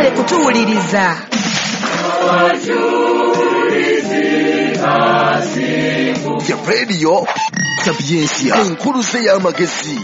Mwebale kutuwuliriza. Ya Radio Sapientia, enkuluze y'amagezi.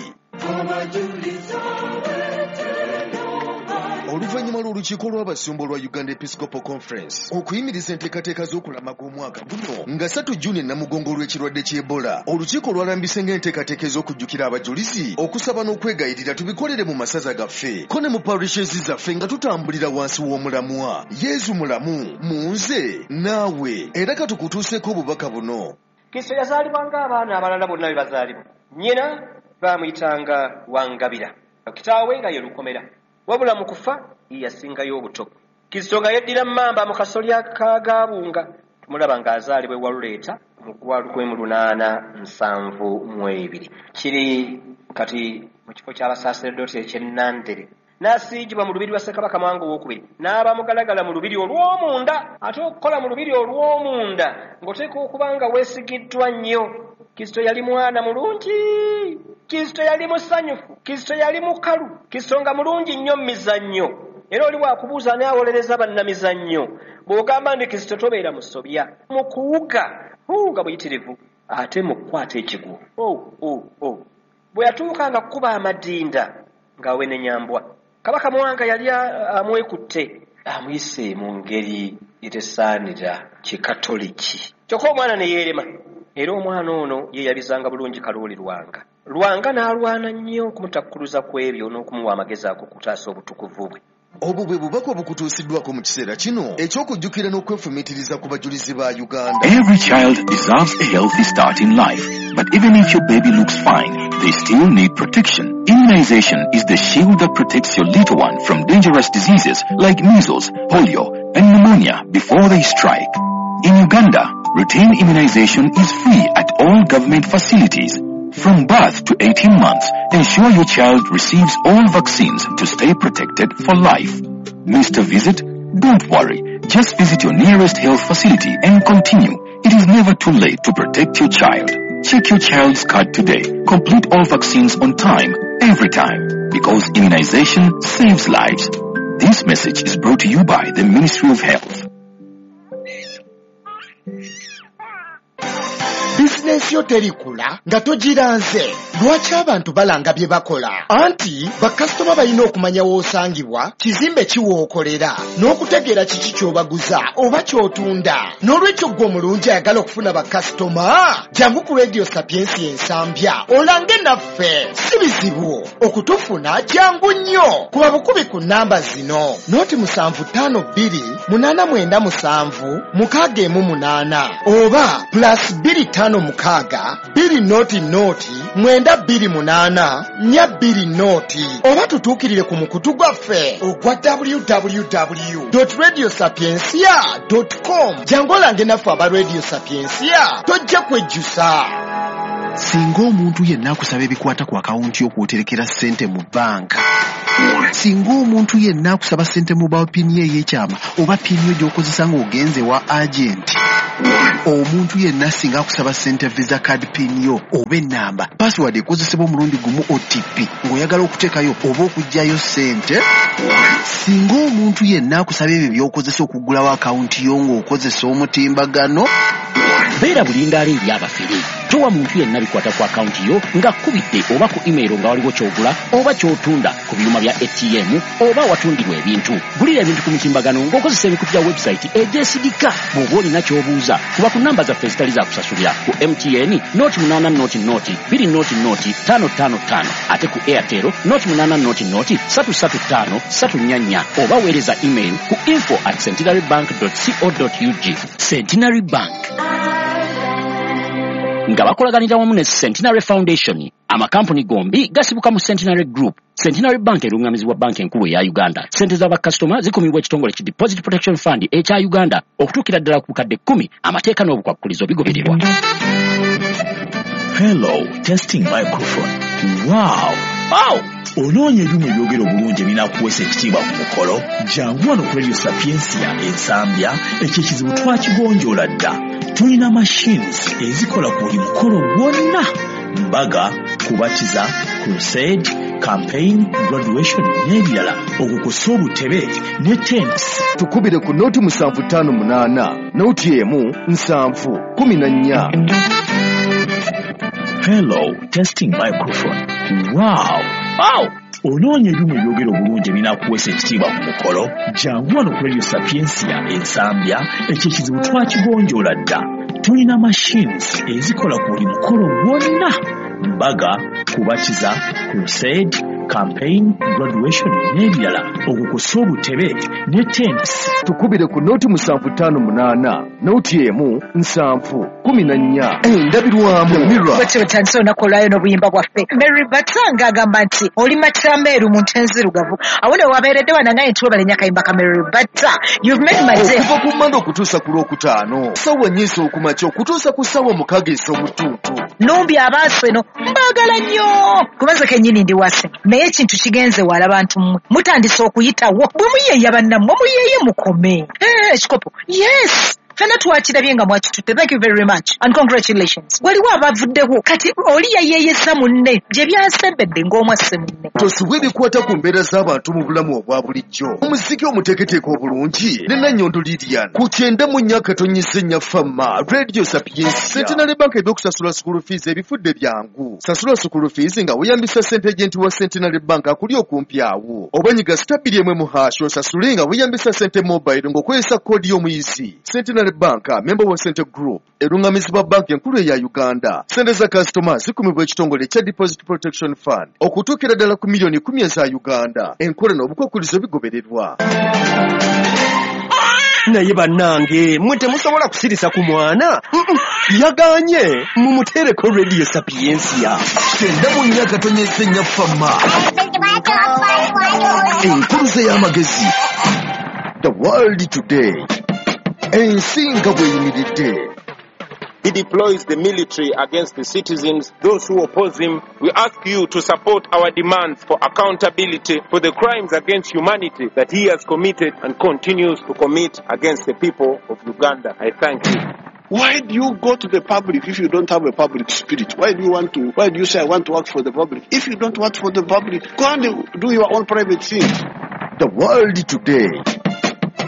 Oluvannyuma lw'olukiiko lw'abasumba olwa Uganda Episcopal Conference okuyimiriza enteekateeka z'okulamaga omwaka guno nga 3 Juni Namugongo olw'ekirwadde ky'Ebola, olukiiko lwalambise ng'enteekateeka ez'okujjukira abajulizi, okusaba n'okwegayirira tubikolere mu masaza gaffe ko ne mu parishes zaffe nga tutambulira wansi w'omulamwa Yezu mulamu mu nze naawe. Era katukutuuseeko obubaka buno. Kristo yazaalibwa ng'abaana abalala bonna bwe bazaalibwa. Nnyina baamuyitanga Wangabira, kitaawe nga ye Lukomera, wabula mu kufa ye yasingayo obuto. Kristo nga yeddira mmamba mu kasolya ka Gaabunga, tumulaba ng'azaalibwa e Waluleeta mu gwa 1872. Kiri kati mu kifo ky'abasaaseredooti eky'e Nandere. N'asiigibwa mu lubiri lwa Ssekabaka Mwanga Owookubiri, n'aba mugalagala mu lubiri olw'omunda. Ate okukola mu lubiri olw'omunda ng'oteekwa okuba nga weesigiddwa nnyo. Kristo yali mwana mulungi, Kristo yali musanyufu, Kristo yali mukalu, Kristo nga mulungi nnyo mu mizannyo. Era oli bw'akubuuza ani awolereza bannamizannyo, bw'ogamba nti Kristo tobeera musobya. Mu kuwuga nga buyitirivu, ate mu kukwata ekigwo. Bwe yatuukanga kukuba amadinda ng'awenenyambwa. Kabaka Mwanga yali amwekutte, amuyise mu ngeri etesaanira kikatoliki. Kyokka omwana ne yeerema. Era omwana ono ye yabizanga bulungi Kalooli Lwanga. Lwanga n'alwana nnyo okumutakkuluza ku ebyo n'okumuwa amagezi ag'okutaasa obutukuvu bwe. Obwo bwe bubaka obukutuusiddwako mu kiseera kino eky'okujjukira n'okwefumiitiriza ku bajulizi ba Uganda. Every child deserves a healthy start in life. But even if your baby looks fine, they still need protection. Immunization is the shield that protects your little one from dangerous diseases like measles, polio, and pneumonia before they strike. In Uganda, routine immunization is free at all government facilities. From birth to 18 months, ensure your child receives all vaccines to stay protected for life. Missed a visit? Don't worry. Just visit your nearest health facility and continue. It is never too late to protect your child. Check your child's card today. Complete all vaccines on time, every time. Because immunization saves lives. This message is brought to you by the Ministry of Health. Bizinensi yo terikula nga togiranze. Lwaki abantu balanga bye bakola? Anti bakasitoma balina okumanya w'osangibwa, kizimbe ki w'okolera, n'okutegeera kiki ky'obaguza oba ky'otunda. N'olwekyo ggwe omulungi ayagala okufuna bakasitoma, jangu ku Radio Sapientia Ensambya olange naffe. Si bizibu okutufuna, jangu nnyo. Kuba bukubi ku nnamba zino: 075 2 897 618 oba +256 200 928 420, oba tutuukirire ku mukutu gwaffe ogwa www radio sapiencia com. Jangu olange naffe aba Radio Sapiencia, tojja kwejjusa. Singa omuntu yenna akusaba ebikwata ku akawunti y'okwoterekera ssente mu bbanka, singa omuntu yenna akusaba ssente mobile PIN ye ey'ekyama oba PIN yo gy'okozesa ng'ogenze wa agenti, omuntu yenna singa akusaba ssente Visa card PIN yo oba ennamba password ekozesebwa omulundi gumu OTP ng'oyagala okuteekayo oba okuggyayo ssente, singa omuntu yenna akusaba ebyo by'okozesa okuggulawo akawunti yo ng'okozesa omutimbagano, Beera bulindaala eri abafere. Towa muntu yenna bikwata ku akawunti yo ng'akkubidde oba ku email nga waliwo ky'ogula oba ky'otunda ku byuma bya ATM oba awatundirwa ebintu. Gulira ebintu ku mitimbagano ng'okozesa emikutu gya website egyesigika. Bw'oba olina ky'obuuza, kuba ku namba zaffe ezitali za kusasulira: ku MTN 080 020 00555, ate ku Airtel 080 335 344, oba weereza email ku info@centenarybank co ug. Centenary Bank nga bakolaganira wamu ne Centenary Foundation. Amakampuni gombi gasibuka mu Centenary Group. Centenary Bank erungamizibwa Banka Enkulu eya Uganda. Sente z'abakasitoma zikumibwa ekitongole ki Deposit Protection Fund ekya Uganda okutuukira ddala ku bukadde 10. Amateeka n'obukwakkulizo bigobererwa. Hello, testing microphone. Wow! Wow! Onoonya ebyuma ebyogera obulungi ebinaakuweesa ekitiibwa ku mukolo? Jangu wano ku Radio Sapiencia Ensambya, ekyo ekizibu twakigonjoola dda. Tulina machines ezikola ku buli mukolo gwonna: mbaga, kubatiza, crusade, campaign, graduation n'ebirala, okwo kw'ossa obutebe ne tents. Tukubire ku noti 758 noti 1 7 14. Hello, testing microphone. Wow! Wow! Onoonya ebyuma ebyogera obulungi ebinaakuweesa ekitiibwa ku mukolo? Jangu wano ku Radio Sapientia Ensambya, ekyo ekizibu twakigonjoola dda. Tulina machines ezikola ku buli mukolo gwonna: mbaga, kubatiza, crusade, campaign, graduation n'ebirala, okwo kw'ossa obutebe ne tents. Tukubire ku noti 758 noti 1 7 14. Endabirwamu mirror. Bwetyo bwetandise olunaku olwayo n'obuyimba bwaffe. Mary Batanga agamba nti oli matameeru mu nte enzirugavu. Awo ne wabeeredde wanangaye nti webale nnyo akayimba ka Mary Bata. You've made my day. Okuva ku Mmande okutuusa ku Lwokutaano, ssaawa 4 ez'okumakya okutuusa ku ssaawa 6 ez'omutuntu. Numbi abaaseno mbaagala nnyo kuba nze kennyini ndi wase, naye ekintu kigenze wala bantu mmwe mutandise okuyitawo bwe muyeeya bannammwe muyeeye mukome. Ekikopo yes, fenna twakirabye nga mwakitutte. Thank you very much and congratulations. Waliwo abavuddewo kati oli yayeeyesa munne gye byasembedde ng'omwasse munne. Tosubwa ebikwata ku mbeera z'abantu mu bulamu obwa bulijjo. Omuziki omuteeketeeke obulungi ne Nannyondo Lilian ku 94.4 Fama Radio Sapientia. Centenary Bank ebyokusasula school fees ebifudde byangu. Sasula school fees nga weeyambisa ssente agent wa Centenary Bank akuli okumpi awo. Oba nyiga *1 mu hash osasule nga weeyambisa ssente mobile ng'okozesa koodi y'omuyizi. Centenary Bank, member wa Center Group, erungamizibwa banki enkulu eya Uganda. Ssente za kasitoma zikumibwa ekitongole ekya Deposit Protection Fund okutuukira ddala ku miliyoni 10 eza Uganda. Enkola n'obukwakkulizo bigobererwa. Naye bannange mmwe temusobola kusirisa ku mwana. Yagaanye mumuteereko Radio Sapientia. 94.4 Fama, enkuluze y'amagezi. The World Today, ensi nga bw'eyimiridde. He deploys the military against the citizens, those who oppose him. We ask you to support our demands for accountability for the crimes against humanity that he has committed and continues to commit against the people of Uganda. I thank you. Why do you go to the public if you don't have a public spirit? Why do you want to, why do you say I want to work for the public? If you don't work for the public, go and do your own private things. The World Today,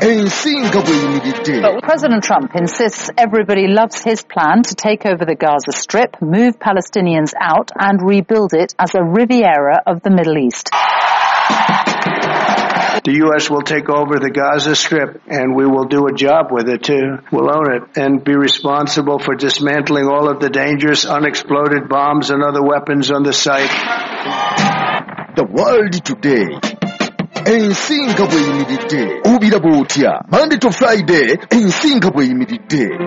ensi nga bw'eyimiridde. President Trump insists everybody loves his plan to take over the Gaza Strip, move Palestinians out and rebuild it as a Riviera of the Middle East. The U.S. will take over the Gaza Strip, and we will do a job with it, too. We'll own it and be responsible for dismantling all of the dangerous unexploded bombs and other weapons on the site. The World Today, ensi nga bw'eyimiridde. Obiraba otya? Monday to Friday, ensi nga bw'eyimiridde.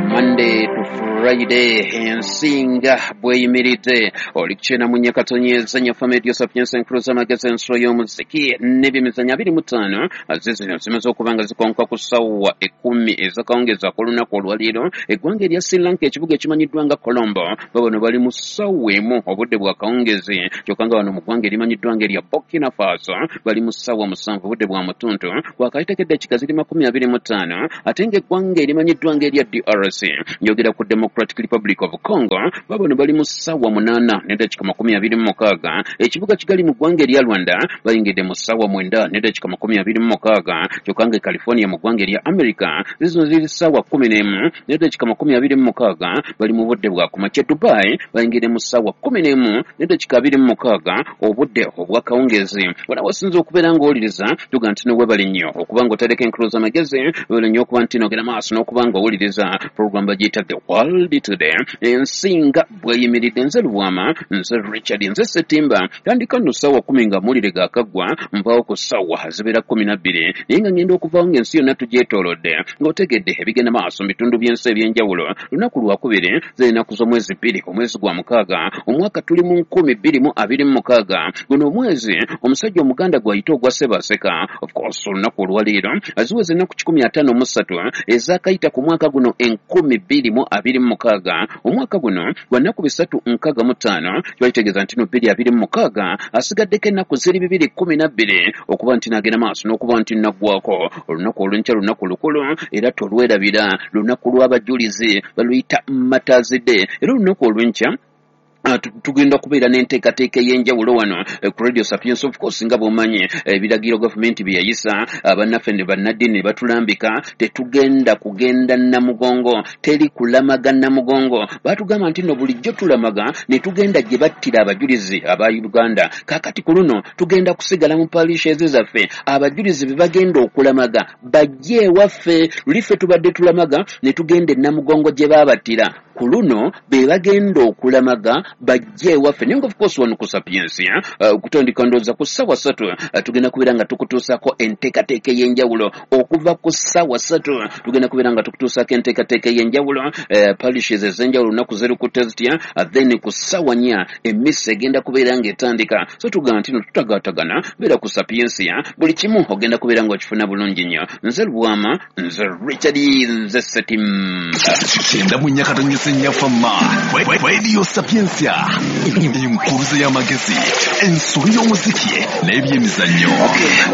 Monday to Friday, ensi nga bw'eyimiridde. Oli ku 94.4 Fama Radio Sapientia, enkuluza amagezi, ensulo y'omuziki n'ebyemizannyo. 25 zizino zimaze okuba nga zikonka ku ssaawa 10 ez'akawungeezi ak'olunaku olwaleero. Eggwanga erya Sri Lanka, ekibuga ekimanyiddwa nga Colombo, babano bali mu ssaawa 1 obudde bwa kawungeezi, kyokka nga wano mu ggwanga erimanyiddwa nga erya Burkina Faso bali mu ssaawa 7 obudde bwa mutuntu, wakayitako eddakiika ziri 25. Ate ng'eggwanga erimanyiddwa nga erya DRC, njogera ku Democratic Republic of Congo, babano bali mu ssaawa 8 n'eddakiika 26. Ekibuga Kigali mu ggwanga erya Rwanda bayingidde mu ssaawa 9 n'eddakiika 26, kyokka nga e California mu ggwanga erya America zizino ziri ssaawa 11 n'eddakiika 26, bali mu budde bwa kumakya. Dubai bayingidde mu ssaawa 11 n'eddakiika 26 obudde obwakawungeezi. Wano wasinza okubeera ng'owuliriza, tuga nti nowebale nnyo okuba ng'otereka enkuluza amagezi, webale nnyo okuba nti nogenda maaso n'okuba ng'owuliriza program bagiyita The World Today, ensi nga bw'eyimiridde. Nze Lubwama, nze Richard, nze Setimba. Tandika nno ssaawa 10 nga amawulire gaakaggwa, nvaawo ku ssaawa zibeera 12, naye nga ngenda okuvaawo ng'ensi yonna tugyetoolodde, ng'otegedde ebigenda maaso mu bitundu by'ensi ebyenjawulo. Lunaku lwakubiri, z'ennaku z'omwezi 2 omwezi gwa 6 omwaka tuli mu 2026. Guno omwezi omusajja omuganda gw'ayita ogwa Ssebaaseka. Of course olunaku olwaleero aziweza ennaku 153 ezaakayita ku mwaka guno 2026. Omwaka guno gwa nnaku 365, kiba kitegeeza nti no 2026 asigaddeko ennaku ziri 212 okuba nti nagenda maaso n'okuba nti naggwako. Olunaku olw'enkya lunaku lukulu era tolwerabira, lunaku lw'abajulizi, baluyita Martyrs Day. Era olunaku olw'enkya Tugenda kubeera n'enteekateeka ey'enjawulo wano ku Radio Sapiens. Of course, nga bw'omanyi ebiragiro gavumenti bye yayisa, bannaffe ne bannaddiini ne batulambika, tetugenda kugenda Namugongo, teri kulamaga Namugongo. Baatugamba nti nno bulijjo tulamaga ne tugenda gye battira abajulizi aba Uganda. Kaakati ku luno tugenda kusigala mu parishes zaffe, abajulizi be bagenda okulamaga bajje ewaffe. Luli ffe tubadde tulamaga ne tugenda e Namugongo gye baabattira, ku luno be bagenda okulamaga bajje ewaffe. Naye nga of course wano ku Sapiensia okutandika ndowooza ku ssaawa 3 tugenda kubeera nga tukutuusaako enteekateeka ey'enjawulo. Okuva ku ssaawa 3 tugenda kubeera nga tukutuusaako enteekateeka ey'enjawulo, parishes ez'enjawulo olunaku zerukutte zitya. Then ku ssaawa 4 emmisa egenda kubeera ng'etandika. So tugamba nti no tutagaatagana, beera ku Sapiensia, buli kimu ogenda kubeera ng'okifuna bulungi nnyo. Nze Lubwama, nze Richard, nze Setimba. 94.4 Fama Radio Sapiensia, enkuruze y'amagezi, ensobi y'omuziki n'ebyemizannyo.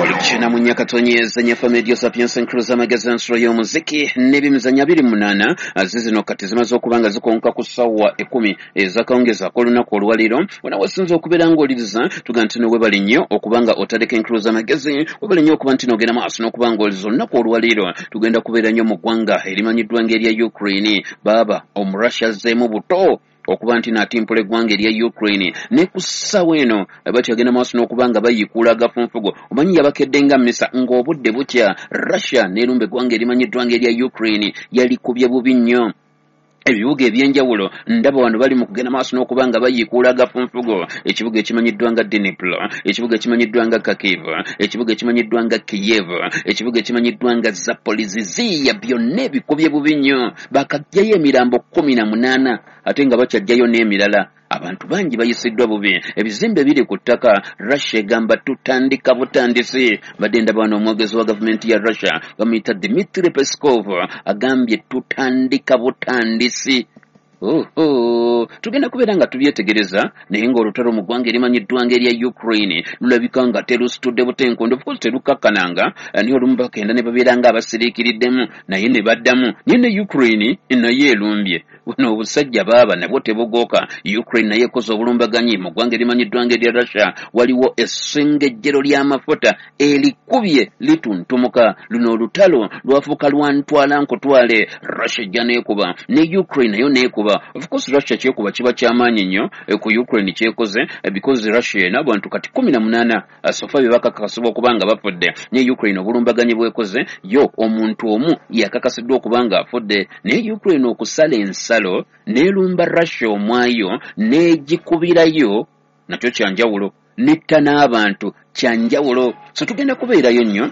Oli 94.4 Fama Radio Sapiensia, enkuruze y'amagezi, ensulo y'omuziki n'ebyemizannyo. 28 zizino kati zimaze okuba nga zikonka ku ssaawa 10 ez'akawungeezi ak'olunaku olwaleero. Wona wasinze okubeera ng'oliriza, tugamba nti no webale nnyo okuba nga otandika enkuruze y'amagezi, webale nnyo okuba nti n'ogenda maaso n'okuba ng'oliza. Olunaku olwaleero tugenda kubeera nnyo mu ggwanga erimanyiddwa ng'erya Ukraine. Baaba Omurussia azzeemu buto okuba nti n'atimpula eggwanga erya Ukraine, ne ku ssaawa eno bakyagenda maaso n'okuba nga bayiikuula agafunfugo. Omanyi yabakedde nga mmisa ng'obudde bukya, Russia n'erumba eggwanga erimanyiddwa ng'erya Ukraine, yalikubye bubi nnyo ebibuga ebyenjawulo. Ndaba wano bali mu kugenda maaso n'okuba nga bayiikuula agafunfugo. Ekibuga ekimanyiddwa nga Dnipro, ekibuga ekimanyiddwa nga Kharkiv, ekibuga ekimanyiddwa nga Kiev, ekibuga ekimanyiddwa nga Zaporizhzhia, byonna ebikubye bubi nnyo. Bakaggyayo emirambo 18 ate nga bakyajjayo n'emirala. Abantu bangi bayisiddwa bubi, ebizimbe biri ku ttaka. Russia egamba tutandika butandisi. Badde ndaba wano omwogezi wa gavumenti ya Russia bamuyita Dmitry Peskov agambye tutandika butandisi. Oho, tugenda kubeera nga tubyetegereza, naye ng'olutalo mu ggwanga erimanyiddwa ng'erya Ukraine lulabika nga terusitudde butenkondo. Of course terukakkananga, naye olumu bagenda ne babeera nga abasiriikiriddemu naye ne baddamu. Naye ne Ukraine naye erumbye. Buno obusajja baaba nabwo tebugooka. Ukraine naye ekoze obulumbaganyi mu ggwanga erimanyiddwa ng'erya Russia. Waliwo essengejjero ly'amafuta erikubye lituntumuka. Luno olutalo lwafuuka lwa ntwala nkutwale. Russia ejja n'ekuba ne Ukraine nayo n'ekuba. Of course Russia kyekuba kiba kyamaanyi nnyo ku Ukraine kyekoze, because Russia erina abantu kati 18 sofa be bakakasibwa okuba nga bafudde. Ne Ukraine obulumbaganyi bwekoze yo omuntu omu yakakasiddwa okuba nga afudde. Naye Ukraine okusala ensalo n'erumba Russia omwayo n'egikubirayo nakyo kyanjawulo, netta n'abantu kyanjawulo. So tugenda kubeerayo nnyo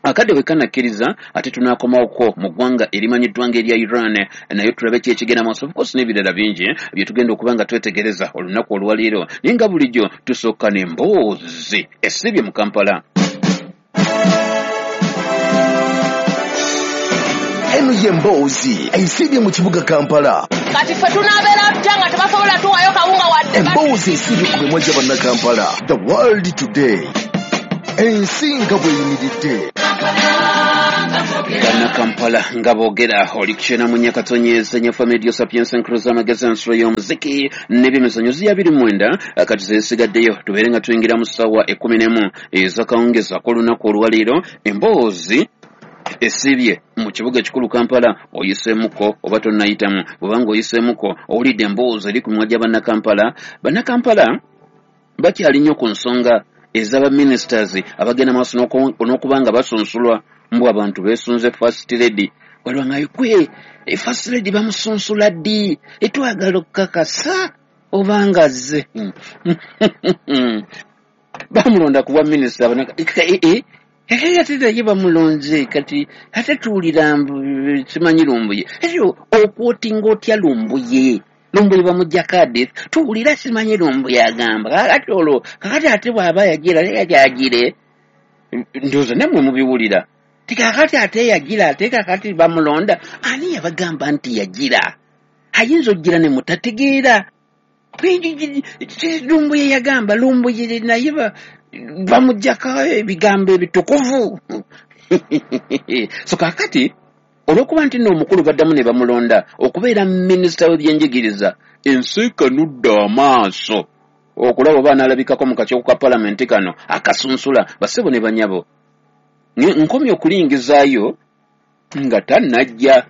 akadde bwe kanakkiriza, ate tunaakomawoko mu ggwanga erimanyiddwa ng'erya Iran, naye tulabe ki ekigenda maaso. Of course n'ebirala bingi bye tugenda okuba nga twetegereza olunaku olwaleero. Naye nga bulijjo tusooka n'emboozi esibye mu Kampala. Eno ye mboozi esibye mu kibuga Kampala. Kati ffe tunaabeera tutya nga tebasobola tuwayo kawunga wadde? Emboozi esibye ku mimwa gya Bannakampala. The World Today, ensi nga bweyimiridde. Bannakampala nga boogera. Oli 94.4 Fama Radio Sapiensia, enkuruza amagezi, ensulo y'omuziki n'ebyemizannyo. Ziya 29 kati zesigaddeyo tubeere nga tuyingira mu ssaawa 11 ez'akawungeezi ak'olunaku olwaleero. Emboozi esibye mu kibuga ekikulu Kampala, oyiseemuko oba tonnayitamu? Bw'obanga oyiseemuko, owulidde emboozi eri ku mimwa gya Bannakampala. Bannakampala bakyali nnyo ku nsonga ez'abaministers abagenda maaso n'okuba nga basunsulwa. Mbu abantu beesunze First Lady. Waliwo nga kwe First Lady bamusunsula ddi? Etwagala okukakasa obanga azze. Bamulonda ku bwa minisita, ate naye bamulonze kati ate tuwulira simanyi Lumbuye. Okwotinga otya Lumbuye? Lumbuye bamuggyako Adith, tuwulira simanyi Lumbuye agamba kakati olwo kakati ate bw'aba yagira yagire, ndowooza nammwe mubiwulira ti kakati ate yagira, ate kakati bamulonda. Ani yabagamba nti yagira? Ayinza okugira ne mutategeera. Lumbuye yagamba Lumbuye naye bamuggyako ebigambo ebitukuvu. So kakati Olw'okuba nti nno omukulu baddamu ne bamulonda okubeera minisita w'ebyenjigiriza, ensi ekanudde amaaso okulaba oba anaalabikako mu kakiiko ka palamenti kano akasunsula bassebo ne banyabo. Nkomye okulingizaayo nga tannajja,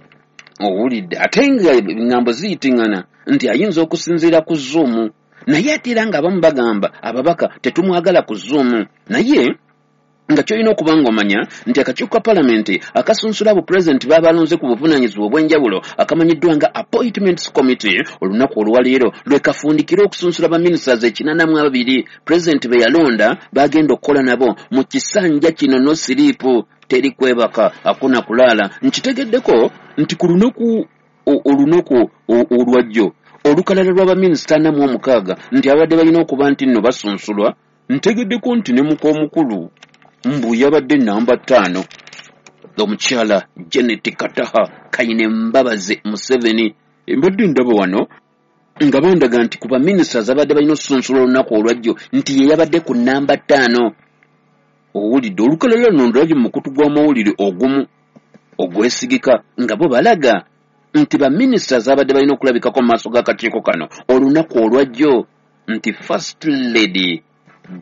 owulidde, ate nga eŋŋambo ziyitiŋŋana nti ayinza okusinziira ku Zoom, naye ate era ng'abamu bagamba ababaka tetumwagala ku Zoom. Naye nga ky'olina okuba ng'omanya nti akakiiko ka palamenti akasunsula abo pulezidenti b'abalonze ku buvunaanyizibwa obw'enjawulo akamanyiddwa nga Appointments Committee olunaku olwaleero lwe kafundikira okusunsula baminisiters 82 pulezidenti be yalonda bagenda okukola nabo mu kisanja kino. No siriipu, teri kwebaka, hakuna kulaala. Nkitegeddeko nti ku lunaku olunaku olwajjo olukalala lw'abaminisita 46 nti abadde balina okuba nti nno basunsulwa, ntegeddeko nti ne muka omukulu mbu yabadde namba 5, omukyala Janet Kataha Kaine Mbabazi Museveni. Mbadde ndaba wano nga bandaga nti ku baminisita abadde balina osunsula olunaku olwajjo nti ye yabadde ku namba 5. Owulidde, olukalala luno ndulabye mu mukutu gw'amawulire ogumu ogwesigika nga bo balaga nti baminisita abadde balina okulabikako mu maaso g'akakiiko kano olunaku olwajjo nti First Lady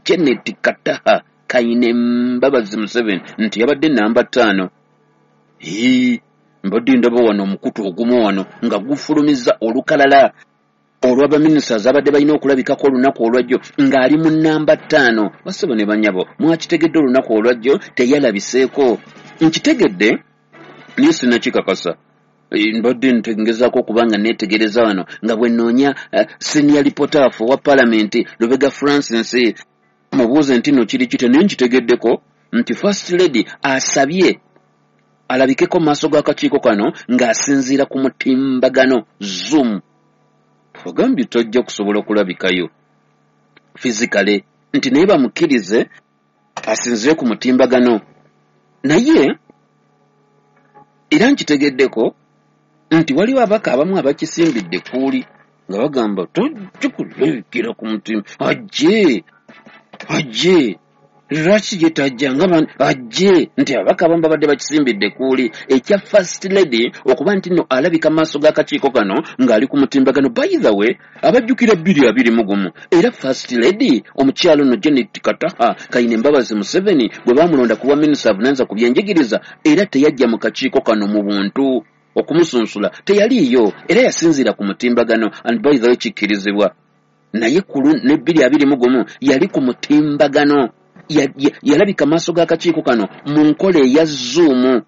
Janet Kataha Kaine Mbabazi Museveni nti yabadde namba 5. Hii, mbadde ndaba wano omukutu ogumu wano nga gufulumiza olukalala olw'abaminisita abadde balina okulabikako olunaku olwajjo ng'ali mu namba 5. Bassebo ne banyabo, mwakitegedde, olunaku olwajjo teyalabiseeko. Nkitegedde naye sinakikakasa. Mbadde ngezaako okuba nga neetegereza wano nga bwe nnoonya senior reporter wa palamenti Lubega Francis mubuuze nti nno kiri kitya, naye nkitegeddeko nti First Lady asabye alabikeko mu maaso g'akakiiko kano ng'asinziira ku mutimbagano Zoom. Agambye tojja kusobola kulabikayo physically, nti naye bamukkirize asinziire ku mutimbagano. Naye era nkitegeddeko nti waliwo abaka abamu abakisimbidde kuuli nga bagamba tojja kulabikira ku mutimba, ajje ajje, lwaki ye tajja nga ajje, nti ababaka abamu babadde bakisimbidde kuuli ekya First Lady okuba nti nno alabika maaso g'akakiiko kano ng'ali ku mutimbagano. By the way, abajjukira 2021 era First Lady omukyalo nno Janet Kataha Kaine Mbabazi Museveni bwe baamulonda ku bwa minisita avunaanyizibwa ku byenjigiriza, era teyajja mu kakiiko kano mu buntu okumusunsula, teyaliiyo, era yasinziira ku mutimbagano. And by the way, kikkirizibwa, naye kulu ne 2021 yali ku mutimbagano, yalabika maaso g'akakiiko kano mu nkola eya Zoom.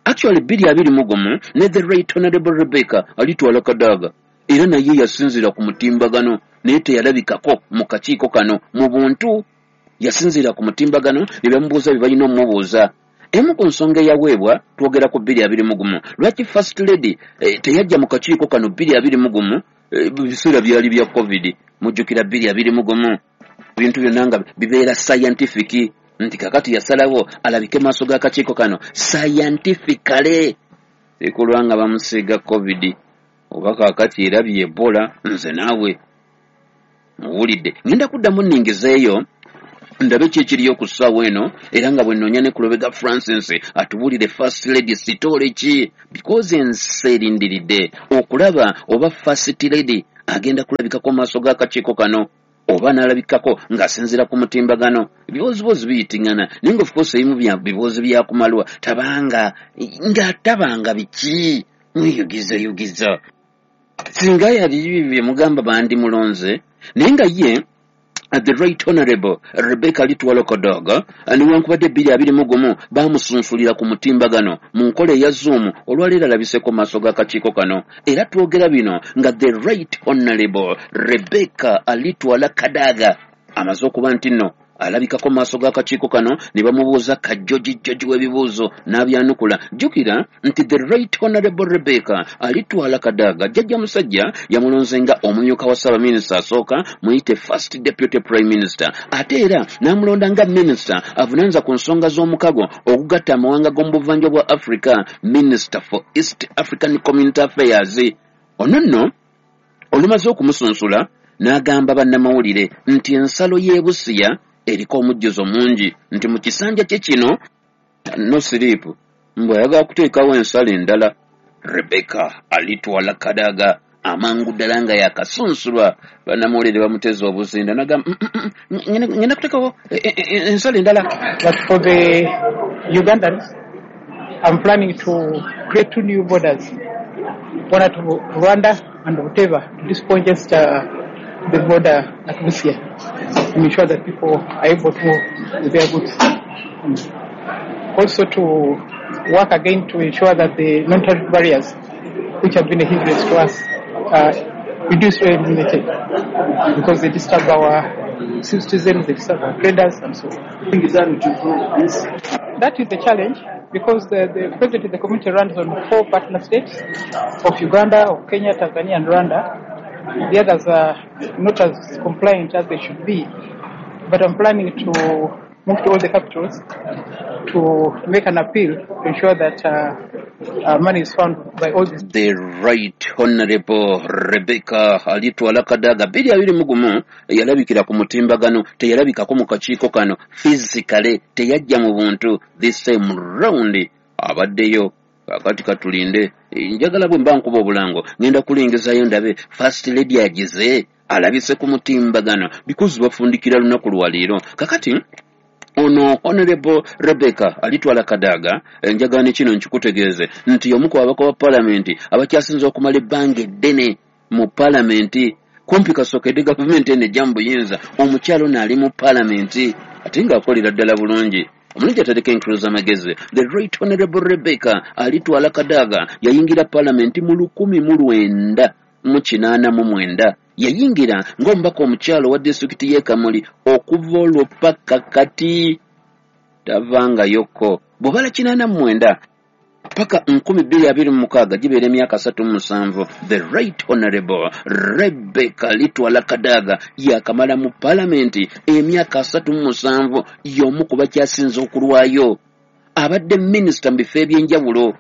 Actually 2021 ne the Right Honorable Rebecca Alitwala Kadaga era naye yasinziira ku mutimbagano, naye teyalabikako mu kakiiko kano mu buntu, yasinziira ku mutimbagano ne bamubuuza bye balina omumubuuza. Emu ku nsonga eyaweebwa, twogera ku 2021, lwaki First Lady teyajja mu kakiiko kano 2021, biseera byali bya COVID. Mujjukira 2021 ebintu byonna nga bibeera scientific, nti kakati yasalawo alabike maaso g'akakiiko kano scientifically ekulwa nga bamusiiga COVID oba kaakati erabye Ebola. Nze naawe muwulidde, ngenda kuddamu nningizeeyo ndabe ki ekiriyo ku ssaawa eno, era nga bwe nnoonya ne ku Lubega Francis atubuulire First Lady sitoole ki, because ensi erindiridde okulaba oba First Lady agenda kulabikako mu maaso g'akakiiko kano oba n'alabikako ng'asinziira ku mutimbagano. Ebibooziboozi biyitiŋŋana, naye nga of course ebimu biboozi byakumalwa, tabanga nga tabanga biki mweyugizayugiza. Singa yali bye mugamba bandimulonze, naye nga ye the Right Honorable Rebecca Alitwala Kadaga newankubadde 2021 bamusunsulira ku mutimbagano mu nkola eya Zoom, olwaleero alabiseko mu maaso g'akakiiko kano. Era twogera bino nga the Right Honorable Rebecca Alitwala Kadaga amaze okuba nti nno alabikako mu maaso g'akakiiko kano ne bamubuuza kajjojijjoji w'ebibuuzo n'abyanukula. Jjukira nti the Right Honorable Rebecca Alitwala Kadaga, jjajja musajja yamulonze nga omumyuka wa ssaabaminisita asooka, muyite First Deputy Prime Minister, ate era n'amulonda nga minisita avunaanyizibwa ku nsonga z'omukago ogugatta amawanga g'omu buvanjuba bwa Africa, Minister for East African Community Affairs. Ono nno olumaze okumusunsula n'agamba bannamawulire nti ensalo y'e Busiya eriko omujjuzo mungi, nti mu kisanja kye kino no siriipu, mbwe ayagala kuteekawo ensalo endala. Rebecca Alitwala Kadaga amangu ddala nga yakasunsulwa bannamawulire bamuteze obuzinda nagamba ngenda kuteekawo ensala endala. But for the Ugandans, I'm planning to create two new borders, one at Rwanda and whatever, to discongest the border at Busia and ensure that people are able to move with their goods. Also to work again to ensure that the non-tariff barriers, which have been a hindrance to us, are reduced or eliminated, because they disturb our citizens, they disturb our traders, and so on. That is the challenge, because the president of the community runs on 4 partner states of Uganda, of Kenya, Tanzania, and Rwanda. The others are not as compliant as they should be, but I'm planning to move to all the capitals to make an appeal to ensure that money is found by all these. The Right Honorable Rebecca Alitwala Kadaga 2021 yalabikira ku mutimbagano, teyalabikako mu kakiiko kano physically, teyajja mu buntu. This same round abaddeyo. Kakati katulinde, njagala bwe mba nkuba obulango ngenda kulingizayo ndabe First Lady agize alabise ku mutimbagano, because bafundikira lunaku lwa leero. Kakati ono Honorable Rebecca Alitwala Kadaga, njagala ne kino nkikutegeeze nti omu ku babaka ba paalamenti abakyasinze okumala ebbanga eddene mu paalamenti, kumpi kasookedde gavumenti eno ejja mu buyinza, omukyalo ono ali mu paalamenti ate ng'akolera ddala bulungi. Omulungi atereka enkulu z'amagezi. The Right Honorable Rebecca Alitwala Kadaga yayingira paalamenti mu 1989. Yayingira ng'omubaka omukyalo wa disitulikiti y'e Kamuli okuva olwo paka kati tavangayoko. Bw'obala 89 paka 2026 gibeera emyaka 37. The Right Honorable Rebecca Alitwala Kadaga yakamala mu paalamenti emyaka 37, y'omu ku bakyasinze okulwayo. Abadde minisita mu bifo eby'enjawulo,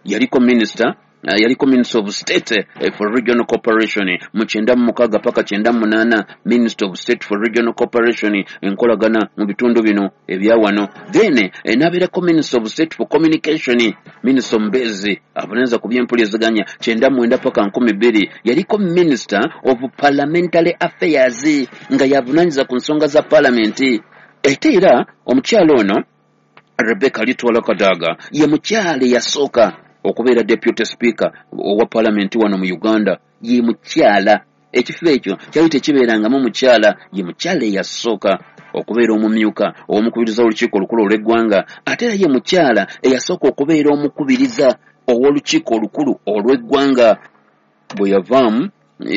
yaliko minisita, yaliko Minister of State for Regional Cooperation mu 96 paka 98, Minister of State for Regional Cooperation enkolagana mu bitundu bino ebya wano. Then n'abeerako Minister of State for Communication, Minister Mbezi avunaanyizibwa ku by'empuliziganya 99 paka 2000. Yaliko Minister of Parliamentary Affairs nga yavunaanyizibwa ku nsonga za paalamenti. Ate era omukyalo ono Rebecca Alitwala Kadaga ye mukyala eyasooka okubeera Deputy Speaker owa paalamenti wano mu Uganda. Ye mukyala, ekifo ekyo kyali tekibeerangamu mukyala, ye mukyala eyasooka okubeera omumyuka ow'omukubiriza w'olukiiko olukulu olw'eggwanga. Ate era ye mukyala eyasooka okubeera omukubiriza ow'olukiiko olukulu olw'eggwanga. Bwe yavaamu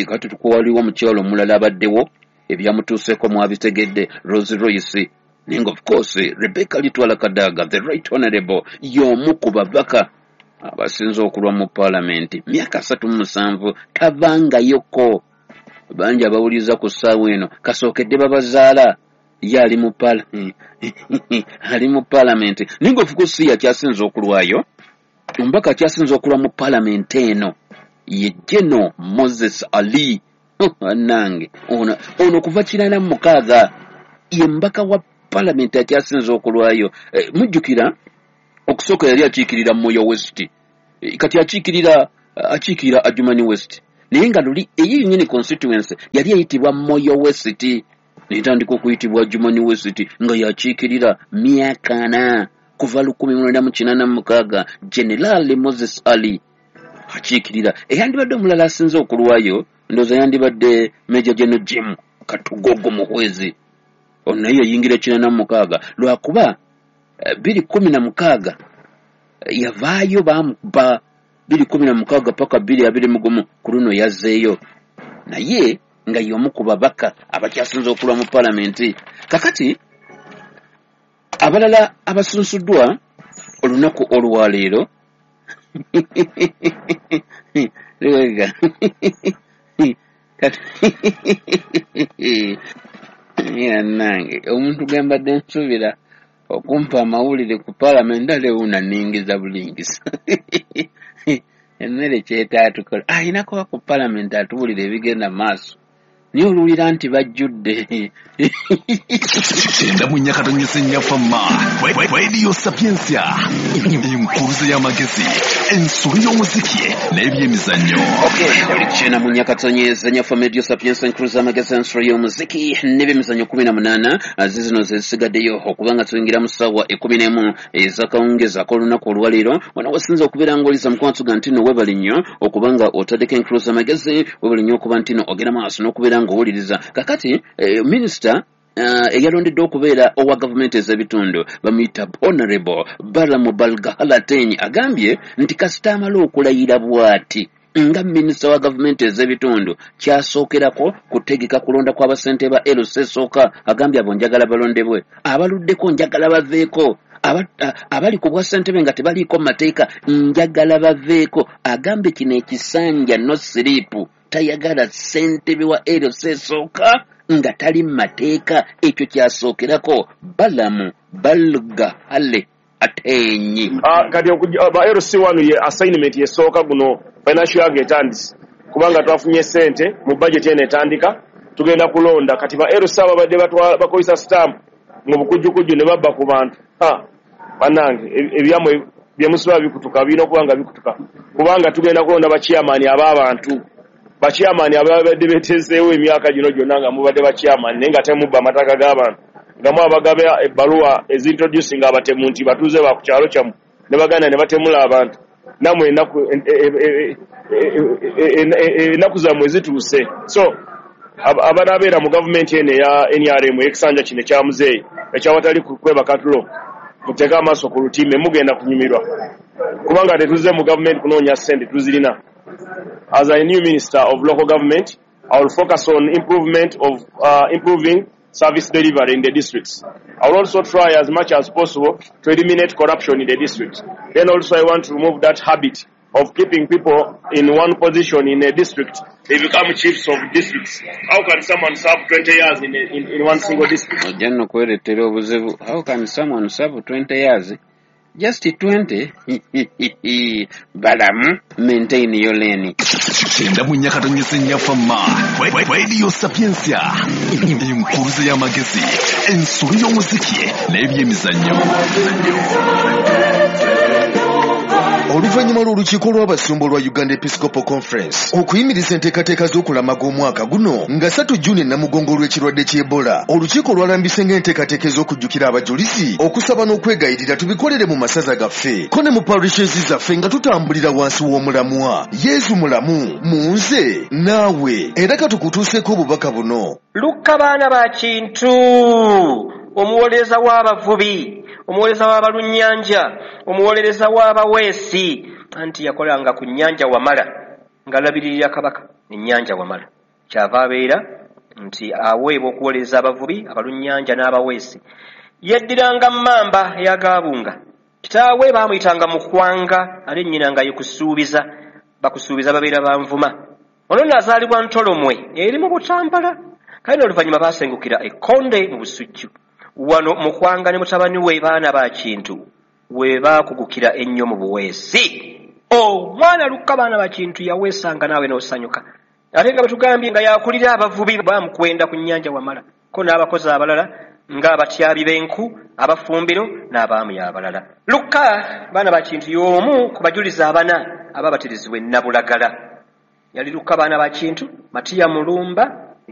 kati waliwo omukyala omulala abaddewo, ebyamutuuseeko mwabitegedde, Rose Royce. Naye nga of course Rebecca Alitwala Kadaga the Right Honorable y'omu ku babaka abasinze okulwa mu paalamenti myaka 37 tavangayoko. Bangi abawuliriza ku ssaawa eno kasookedde babazaala, ye ali mu paalamenti. Naye nga of course si yakyasinze okulwayo. Omubaka akyasinze okulwa mu paalamenti eno ye General Moses Ali. Nange ono kuva 96 ye mubaka wa paalamenti akyasinze okulwayo. Mujjukira okusooka yali akiikirira Moyo West, kati akiikirira Adjumani West, naye nga luli eyo yennyini constituency yali eyitibwa Moyo West, netandika okuyitibwa Adjumani West nga yakiikirira myaka 4 kuva 1986. General Moses Ali akiikirira. Eyandibadde omulala asinze okulwayo ndowooza yandibadde Major General Jim Katugogo Muhwezi, ono naye yayingira 86 lwakuba 2016 yavaayo bamukuba 2016 paka 2021 ku luno yazzeeyo, naye nga y'omu ku babaka abakyasinze okulwa mu paalamenti. Kakati abalala abasunsuddwa olunaku olwaleero nange omuntu gwe mbadde nsuubira okumpa amawulire ku paalamenti ate wuuna nningiza bulingisa. Emmere kyetaatukola alina kuba ku paalamenti atuwulira ebigenda maaso, naye oluwulira nti bajjudde. 94.4 Fama. Radio Sapientia, enkuruze y'amagezi, ensolo y'omuziki n'ebyemizannyo. Chena munyakatonyeza nyafa Radio Sapientia enkuruze y'amagezi, ensolo y'omuziki n'ebyemizannyo 18 zizino zisigaddeyo okubanga tuyingira mu ssaawa 11 ez'akawungeezi ak'olunaku olwaleero. Wano wasinza okubeera ng'oliza mukwano ga nti nno weebale nnyo okubanga otaddeko enkuruze y'amagezi, weebale nnyo okuba nti nno ogenda maaso n'okubeera ng'owuliriza. Kakati minisita eyalondeddwa okubeera owa gavumenti ez'ebitundu bamuyita Honorable Balaam Barugahara Ateenyi agambye nti kasita amala okulayira bw'ati nga minisita wa gavumenti ez'ebitundu, kyasookerako kutegeka kulonda kw'abasente ba LC esooka. Agambye abo njagala balondebwe, abaluddeko njagala baveeko, abali ku bwa ssentebe nga tebaliiko mu mateeka njagala baveeko. Agambye kino ekisanja no sleep, tayagala ssentebe wa LC esooka nga tali mu mateeka. Ekyo kyasookerako Balaam Barugahara Ateenyi. Kati ba LC1 ye assignment yesooka guno financial year etandise, kubanga twafunye sente mu budget eno etandika, tugenda kulonda. Kati ba LC ababadde bakozesa stamp mu bukujjukujju ne babba ku bantu, bannange ebyamwe byemusobola bikutuka, birina okuba nga bikutuka, kubanga tugenda kulonda bachairman ab'abantu, bachairman ababadde beteeseewo emyaka gino gyonna nga mubadde bachairman naye nga temubba amataka g'abantu, nga mwabagaba ebbaluwa ezintroducing abatemu nti batuuze ba ku kyalo kyammwe ne baganda ne batemula abantu. Nammwe ennaku zammwe zituuse. So abanaabeera mu gavumenti eno eya NRM ey'ekisanja kino ekya muzeeyi ekyawatali kwebaka tulo, muteeke amaaso ku lutimbe, mugenda kunyumirwa, kubanga tetuzze mu gavumenti kunoonya ssente, tuzirina. As a new minister of local government, I will focus on improvement of improving service delivery in the districts. I will also try as much as possible to eliminate corruption in the district. Then also I want to remove that habit of keeping people in one position in a district. They become chiefs of districts. How can someone serve 20 years in one single district? Ojja nno kwereetera obuzibu. How can someone serve 20 years? Just 20? Balaam, maintain your lane. 94 nyafama Radio Sapientia, enkuruze y'amagezi, ensolo y'omuziki n'ebyemizannyo. Oluvannyuma lw'olukiiko lw'abasumba olwa Uganda Episcopal Conference okuyimiriza enteekateeka z'okulamaga omwaka guno nga 3 Juni Namugongo olw'ekirwadde ky'Ebola, olukiiko lwalambise ng'enteekateeka ez'okujjukira abajulizi, okusaba n'okwegayirira tubikolere mu masaza gaffe ko ne mu parishes zaffe nga tutambulira wansi w'omulamwa Yesu mulamu mu nze naawe. Era katukutuuseeko obubaka buno. Lukka baana ba Kintu, omuwolereza w'abavubi, omuwolereza w'abalunnyanja, omuwolereza w'abaweesi, anti yakolanga ku nnyanja Wamala ng'alabiririra kabaka ennyanja Wamala. Kyava abeera nti aweebwa okuwolereza abavubi, abalunnyanja n'abaweesi. Yeddiranga mmamba eyagaabunga. Kitaawe baamuyitanga Mukwanga, ate nnyina nga ye Kusuubiza. Bakusuubiza babeera banvuma. Ono nno azaalibwa Ntolomwe eri mu Butambala. Kale oluvannyuma baasengukira e Kkonde mu Busujju. Wano Mukwanga ne mutabani we baana ba Kintu we baakugukira ennyo mu buweesi. Omwana Lukka baana ba Kintu yaweesanga naawe n'osanyuka. Ate nga batugambye nga yakulira abavubi bamukwenda ku nnyanja Wamala, ko n'abakozi abalala ng'abatyabi b'enku, abafumbiro n'abaami abalala. Lukka baana ba Kintu y'omu ku bajulizi abana ababatirizibwa e Nabulagala. Yali Lukka baana ba Kintu, Matiya Mulumba,